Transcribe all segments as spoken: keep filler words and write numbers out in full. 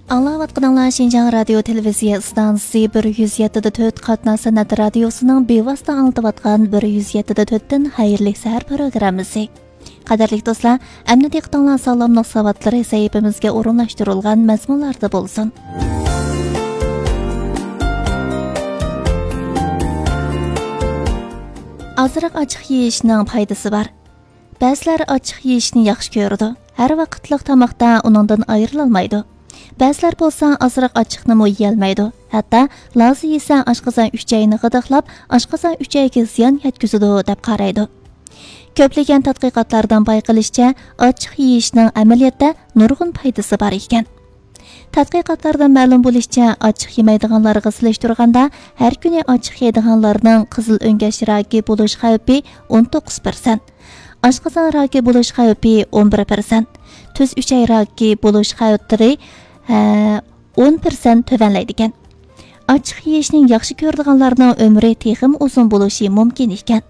ئاڭلاۋاتقىنىڭلار شىنجاڭ رادىيو تېلېۋىزىيە ئىستانسىسى بىر يۈز يەتتە دە تۆت قاتناش سەنئەت رادىيوسىنىڭ بىۋاسىتە ئاڭلىتىۋاتقان بىر يۈز يەتتە دە تۆتتىن خەيرلىك سەھەر پروگراممىسى. قەدىرلىك دوستلار، ئەمدى دىققىتىڭلار ساغلاملىق ساۋاتلىرى سەھىپىمىزگە ئورۇنلاشتۇرۇلغان مەزمۇنلاردا بولسۇن. ئازراق ئاچچىق يېيىشنىڭ پايدىسى بار. بەزىلەر ئاچچىق يېيىشنى ياخشى كۆرىدۇ. ھەر ۋاقىتلىق تاماقتا ئۇنىڭدىن ئايرىلالمايدۇ. بەزىلەر بولسا ئازراق ئاچچىقنىمۇ يېيەلمەيدۇ. ھەتتا لازا يېسە ئاشقازان ئۈچەينى غىدىقلاپ، ئاشقازان ئۈچەيگە زىيان يەتكۈزىدۇ، دەپ قارايدۇ. كۆپلىگەن تەتقىقاتلاردىن بايقىلىشىچە، ئاچچىق يېيىشنىڭ ئەمەلىيەتتە نۇرغۇن پايدىسى بار ئىكەن. تەتقىقاتلاردىن مەلۇم بولۇشىچە، ئاچچىق يېمەيدىغانلارغا سېلىشتۇرغاندا، ھەر كۈنى ئاچچىق يەيدىغانلارنىڭ قىزىل ئۆڭگەچ راكى بولۇش خەۋپى ئون توققۇز پىرسەنت، ئاشقازان راكى بولۇش خەۋپى ئون بىر پىرسەنت، تۈز ئۈچەي راكى بولۇش خەۋپلىرى، ھە، ئون پىرسەنت تۆۋەنلەيدىكەن. ئاچچىق يېيىشنى ياخشى كۆرىدىغانلارنىڭ ئۆمرى تېخىمۇ ئۇزۇن بولۇشى مۇمكىن ئىكەن.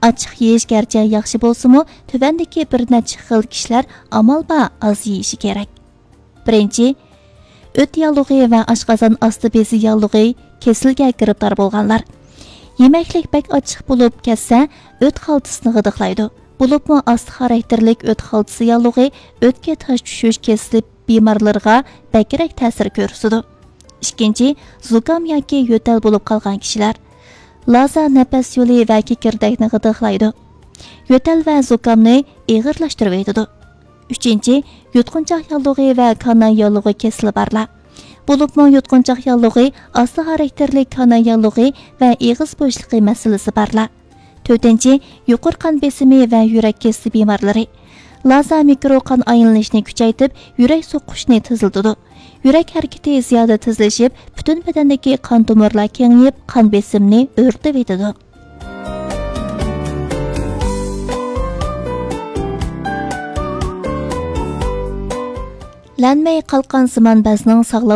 ئاچچىق يېيىش گەرچە ياخشى بولسىمۇ، تۆۋەندىكى بىر نەچچە خىل كىشىلەر ئامال بار ئاز يېيىشى كېرەك. بىرىنچى، ئۆت ياللۇغى ۋە ئاشقازان ئاستى بېزى ياللۇغى كېسىلىگە گىرىپتار بولغانلار. يېمەكلىك بەك ئاچچىق بولۇپ كەتسە، ئۆت خالتىسىنى غىدىقلايدۇ. بولۇپمۇ ئاستا خاراكتېرلىك ئۆت خالتىسى ياللۇغى ئۆتكە تاش چۈشۈش كېسىلى بىمارلىرىغا بەكرەك تەسىر كۆرسىتىدۇ. ئىككىنچى، زۇكام ياكى يۆتەل بولۇپ قالغان كىشىلەر. لازا نەپەس يولى ۋە كېكىردەكنى غىدىقلايدۇ. يۆتەل ۋە زۇكامنى ئېغىرلاشتۇرۇۋېتىدۇ. ئۈچىنچى، يۇتقۇنچاق ياللۇغى ۋە كاناي ياللۇغى كېسىلى بارلار. بولۇپمۇ يۇتقۇنچاق ياللۇغى، ئاستا خاراكتېرلىك كاناي ياللۇغى ۋە ئېغىز بوشلۇقى مەسىلىسى بارلار. تۆتىنچى، يۇقىرى قان بېسىمى ۋە يۈرەك كېسىلى بىمارلىرى. لازا مىكرو قان ئايلىنىشنى كۈچەيتىپ، يۈرەك سوقۇشنى تېزلىتىدۇ. يۈرەك ھەرىكىتى زىيادە تېزلىشىپ، پۈتۈن بەدەندىكى قان تومۇرلار كېڭىيىپ، قان بېسىمنى ئۆرلىتىۋېتىدۇ. لەنمەي قالقانسىمان بەزنىڭ ساغلام